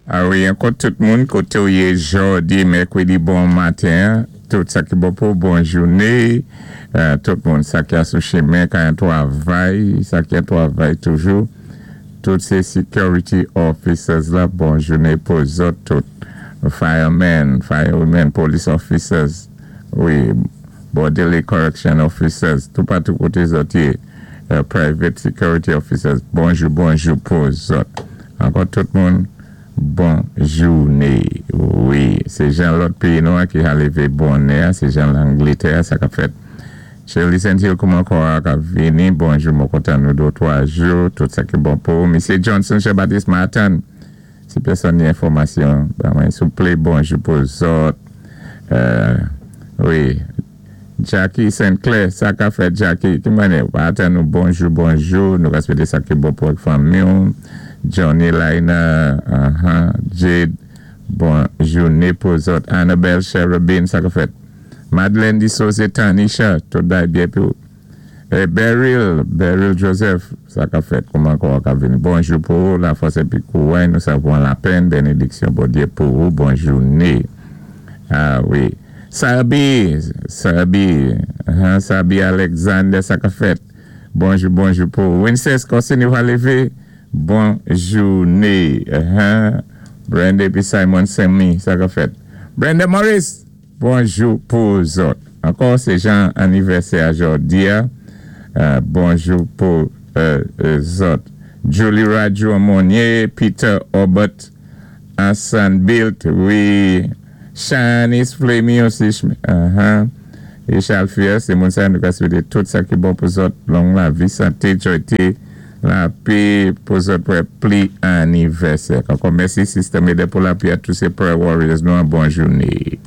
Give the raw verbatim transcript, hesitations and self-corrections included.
A wi, ankò tout moun, koté ou yé jòdi, mèkwédi, bon maten, tout sa ki bon pou bon jouné, euh, tout moun sa ki a sou chimen, ka an twavay, sa ki an twavay toujou, tout sé security officers la, bon jouné pou zòt tout, firemen, firewomen, police officers, wi, bodily correction officers, tout patou koté zòt yé, euh, private security officers, bonjou, bonjou pou zòt. Ankò tout moun, bon jouné. Wi, sé jan lòt péyi nou ki a lévé bonè, sé jan Langlétè, sa ka fèt. Shirley Saint-Hill, kouman kò a ka vini, bonjou, mwen kontan nou dé twa jou, tout sa ki bon pou. Misye Johnson, Jean-Baptiste Martin, si pèsonn ni enfòmasyon, ben mwen souplé, bonjou pou zòt. Euh, wi, Jackie Saint-Clair, sa ka fèt Jackie, ki mwen atan nou bonjou, bonjou, nou ka swété sa ki bon pou fanmi. Johnny Liner, uh-huh, Jade, bon jouné pou zòt. Annabelle Cherubin, sa ka fèt. Madeleine Dissose Tanisha, tout day byen pou. E Beryl, Beryl Joseph, sa ka fèt, kouman kò ka vini. Bonjou pou ou, la fòs épi kouway, nou sa pwan lapenn, bénédiksyon Bondyé pou ou, bon jouné. A wi. Sabi, Sabi, uh-huh, Sabi Alexander, sa ka fèt. Bonjou, bonjou pou ou. Winces, konsi nou va lévé, bon jouné. Uh-huh. Brenda épi Simon Semi, sa ka fèt. Brenda Morris, bonjou pou zòt. Ankò, sé jan anivèsè a jòdi a. Euh, bonjou pou euh, euh, zòt. Julie Radjo Monnier, Peter Obert, Hassan Bilt, wi. Shanice Fleming osi. Uh-huh. É Charles Fier, sé moun sa nou ka swété tout sa ki bon pou zòt. Long lavi, santé, jwayté, lapè pou zòt pou pli anivèsè. Ankò mèsi Sister Mede pou lapwiyè tous sé prayer warriors nou an bon jouné.